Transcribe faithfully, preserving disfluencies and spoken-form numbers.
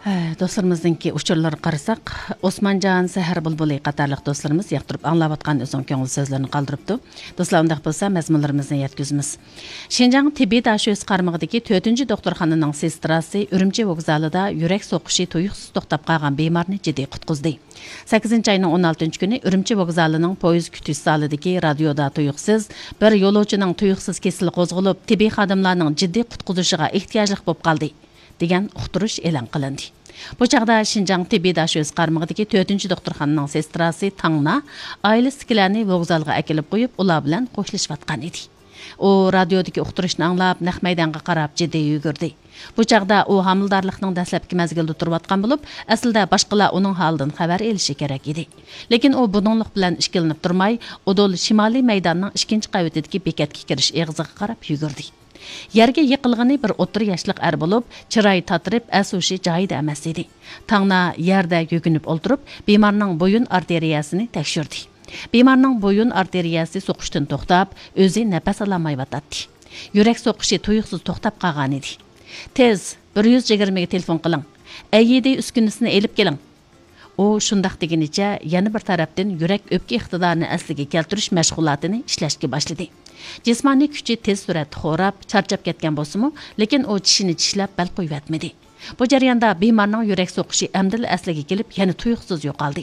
ھە، دوستلىرىمىزنىڭكى ئۇچۇرلىرىغا قارىساق، ئوسمانجان، سەھەر بۇلبۇلى قاتارلىق دوستلىرىمىز ياقتۇرۇپ ئاڭلاۋاتقان ئۆزىنىڭ كۆڭۈل سۆزلىرىنى قالدۇرۇپتۇ. دوستلار، ئۇنداق بولسا مەزمۇنلىرىمىزنى يەتكۈزىمىز. شىنجاڭ تېببىي داشۆسى قارمىقىدىكى تۆتىنچى دوختۇرخانىنىڭ سېستراسى ئۈرۈمچى ۋوگزالىدا يۈرەك سوقۇشى تۇيۇقسىز توختاپ قالغان بىمارنى جىددىي قۇتقۇزدى. سەككىزىنچى ئاينىڭ ئون ئالتىنچى كۈنى ئۈرۈمچى ۋوگزالىنىڭ پويىز كۈتۈش زالىدىكى رادىيودا تۇيۇقسىز بىر يولۇچىنىڭ تۇيۇقسىز كېسىلى قوزغىلىپ، تېببىي خادىملارنىڭ جىددىي قۇتقۇزۇشىغا ئېھتىياجلىق بولۇپ قالدى، دېگەن ئۇقتۇرۇش ئېلان قىلىندى. بۇ چاغدا شىنجاڭ تېببىي داشۆسى قارمىقىدىكى تۆتىنچى دوختۇرخانىنىڭ سېستراسى تاڭنا ئائىلىسىدىكىلەرنى ۋوگزالغا ئەكېلىپ قويۇپ، ئۇلار بىلەن خوشلىشىۋاتقان ئىدى. ئۇ رادىيودىكى ئۇقتۇرۇشنى ئاڭلاپ، نەق مەيدانغا قاراپ جىددىي يۈگۈردى. بۇ چاغدا ئۇ ھامىلىدارلىقنىڭ دەسلەپكى مەزگىلىدە تۇرۇۋاتقان بولۇپ، ئەسلىدە باشقىلار ئۇنىڭ ھالىدىن خەۋەر ئېلىشى كېرەك ئىدى. لېكىن ئۇ بۇنىڭلىق بىلەن ئىككىلىنىپ تۇرماي، ئۇدۇل شىمالىي مەيداننىڭ ئىككىنچى قەۋىتىدىكى بېكەتكە كىرىش ئېغىزىغا قاراپ يۈگۈردى. يەرگە يىقىلغىنى بىر ئوتتۇرا ياشلىق ئەر بولۇپ، چىرايى تاتىرىپ، ئەس-ھوشى جايىدا ئەمەس ئىدى. تاڭنا يەردە يۆگىنىپ ئولتۇرۇپ، بىمارنىڭ بويۇن ئارتېرىيەسىنى تەكشۈردى. بىمارنىڭ بويۇن ئارتېرىيەسى سوقۇشتىن توختاپ، ئۆزى نەپەس ئالالمايۋاتاتتى. يۈرەك سوقۇشى تۇيۇقسىز توختاپ قالغانىدى. تېز، بىر يۈز يىگىرمىگە تېلېفون قىلىڭ. ئەيئىدى ئۈسكۈنىسىنى ئېلىپ كېلىڭ. ئۇ شۇنداق دېگىنىچە، يەنە بىر تەرەپتىن يۈرەك ئۆپكە ئىقتىدارىنى ئەسلىگە كەلتۈرۈش مەشغۇلاتىنى ئىشلەشكە باشلىدى. جىسمانىي كۈچى تېز سۈرئەتتە خوراپ، چارچاپ كەتكەن بولسىمۇ، لېكىن ئۇ چىشىنى چىشلەپ بەل قويۇۋەتمىدى. بۇ جەرياندا بىمارنىڭ يۈرەك سوقۇشى ئەمدىلا ئەسلىگە كېلىپ، يەنە تۇيۇقسىز يوقالدى.